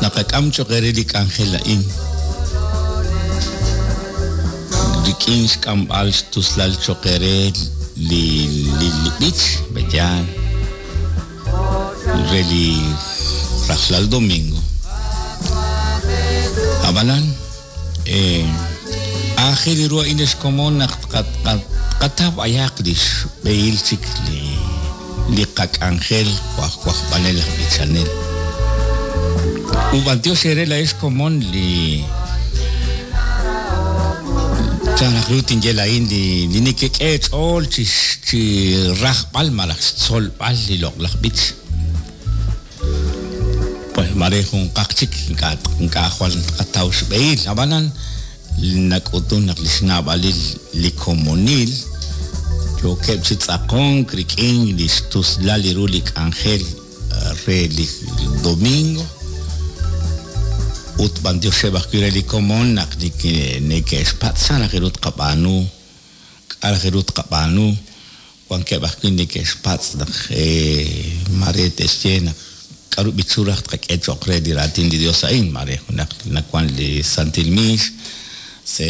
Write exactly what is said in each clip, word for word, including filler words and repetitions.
Naqak'am cho'q eere li k'anjel a'in rik'in xk'amb'al xtuslal cho'q eere li li li b'ich b'eyal re li rajlal domingo. Ab'anan eh, aajel ru a'in xkomon naq tqataw b'ayaq li xb'ehil chik li li qak'anjel jo' aj wajb'anel aj b'ichanel. Ub'antiox ere laa'ex komon li chan raj ru tinye laa'in li li nekek'e ch'ool chi chi rajb'al malaj xtzolb'al li loq'laj b'ich. Pues mare junqaq chik ink'a' ink'a' jwal tqataw xb'ehil, ab'anan nak'utun naq li xnaab'alil li komonil yookeb' chi tz'aqonk rik'in li xtuslal li ru li k'anjel re li domingo ut b'antioxeb' ajwi' re li komon naq neke'xpatz' chan raj ru tqab'aanu, k'a' raj ru tqab'aanu, wankeb' ajwi' neke'xpatz' naq mare te'xye naq k'aru b'ichu raj tqak'e cho'q re li raatin li Dios a'in, mare junaq nawan li Santil Miix se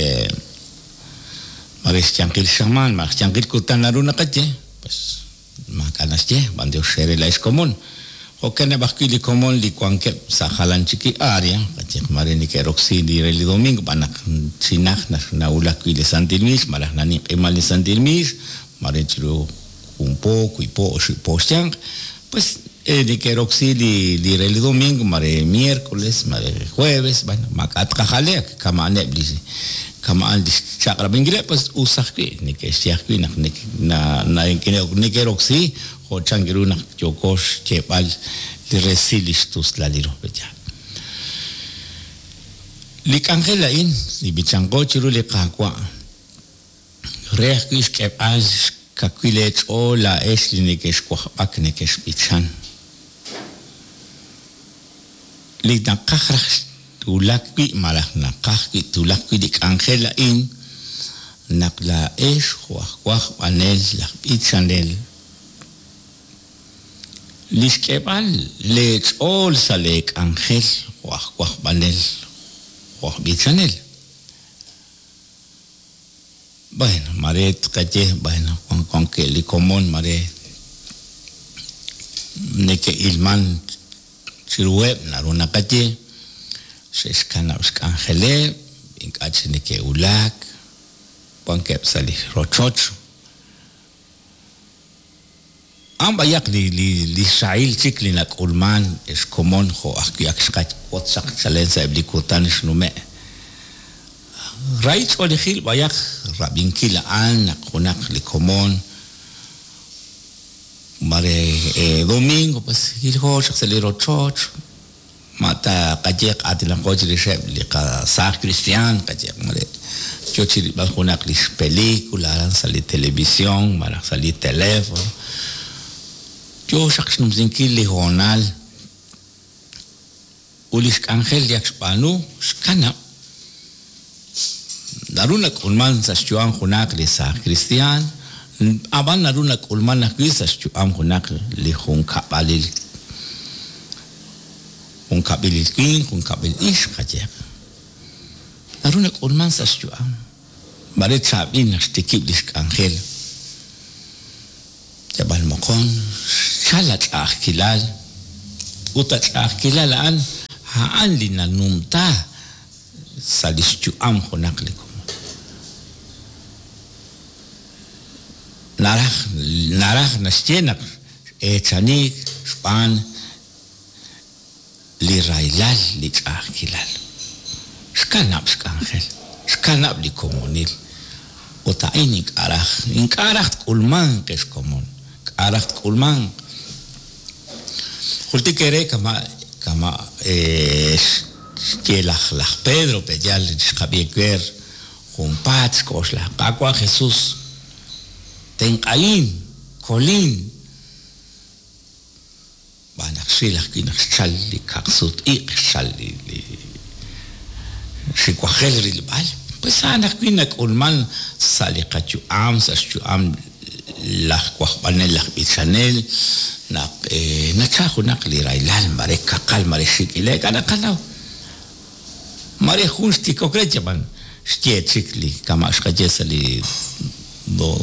mare xyanqil xamaan, mare xyanqil kutan naru naqaye, pues maak'a' naxye, b'antiox ere laa'ex komon. Jo'kaneb' ajwi' li komon li wankeb' sa' jalan chik li área, qayehaq mare neke'roksi li re li domingo, b'an naq chi naj nawulak wi' li Santil Miix, malaj naninq'iman li Santil Miix, mare chiru jun po, wiib' po, oxib' po xyanq, pues neke'roksi li li re li domingo, mare miércoles, mare jueves, bueno, maak'a' tqajale'k, kama'aneb' li kama'an li xchaq'rab'inkileb', pues us ajwi', neke'xye ajwi' naq neke'roksi jo' chan ru naq yooko xyeeb'al li resil li xtuslal li ru b'eyal. Li k'anjel a'in, li b'ichanqo chiru li Qaawa', re ajwi' xk'eb'al xkawil eech'ool laa'ex li neke'xwajb'ak neke'xb'ichan. Li naqaj raj twulak wi' malaj naqaj wi' twulak wi' li k'anjel a'in, naq laa'ex jo' aj wajb'anel laj b'ichanel, li xk'eb'al leech'ool sa' leek'anjel jo' aj wajb'anel jo' aj b'ichanel. Bueno, mare tqaye, bueno, wankeb' li komon mare neke'ilman chiruheb' naru naqaye, xe'xkanab' xk'anjeleb', ink'a' chik neke'wulak, wankeb' sa' li rochoch. A'an b'ayaq li li li xrahil chik li nak'ulman xkomon jo' ajwi' ak xqawotz chaq chalen sa'eb' li kutan xnume'. Rahil ch'oolejil b'ayaq rab'inkil a'an naq junaq li komon mare domingo pues jiljo chaq sa' li rochoch, ma ta qayeq aatinaqo chirixeb' li qasaaj cristian, qayeq mare yo chi rilb'al junaq li xpelicula aran sa' li televisión malaj sa' li teléfono. Yo xaq xnumsinkil li hoonal ut li xk'anjel li ak xb'aanu xkanab'. Naru nak'ulman sa' xyu'am junaq li saaj cristian, ab'an naru nak'ulman ajwi' sa' xyu'am junaq li junkab'alil, junkab'ilil winq, junkab'il ixq qayehaq. Naru nak'ulman sa' xyu'am. Mare chaab'il naq xtikib' li xk'anjel. Yab'al moqon, xchal ach'a'ajkilal, ut ach'a'ajkilal a'an, a'an li nanumta sa' li xyu'am junaq li komon. Naraj, naraj naxye naq eechaniik xb'aan li rahilal, li ch'a'ajkilal. Xkanab' xk'anjel, xkanab' li komonil. Ut a'in ink'a' raj, ink'a' raj tk'ulmanq xkomon, k'a' raj tk'ulmanq. Jultik ere kama' kama' xye laj laj Pedro peyal xqab'i ewer junpaat xk'oxla Qaawa' Jesús, tenq'ahin, kolin. B'an naq xril ajwi' naq xchal li kaqsut-iq', xchal li li xiwajel rilb'al, pues a'an ajwi' nak'ulman sa' li qayu'am, sa' xyu'am laj wajb'anel laj b'ichanel naq nacha junaq li rahilal mare kaqal mare xik' ile'k naqanaw mare jun xtikok re yab'an xye chik li kama' xqaye sa' li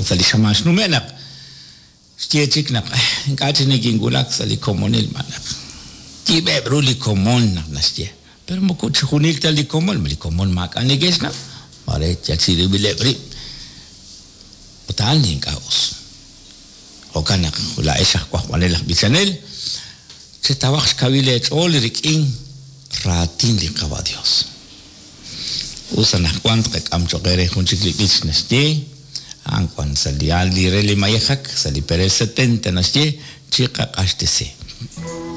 sa' li xamaan xnume' naq xye chik naq ink'a' chik nikinwulak sa' li komonil naq yib'eb' ru li komon naq naxye pero moko chijunil ta li komon li komon maak'a' neke'xnaw mare yal chirib'ileb' rib' ut a'an li ink'a' us jo'kan naq laa'ex aj wajb'anel aj b'ichanel chetawaq xkawil eech'ool rik'in raatin li Qawa' Dios us anaqwan tqak'am cho'q re jun chik li b'ich naxye a'an wan sa' li li re li mayejak sa' li perel setenta naxye chiqaq'axtesi.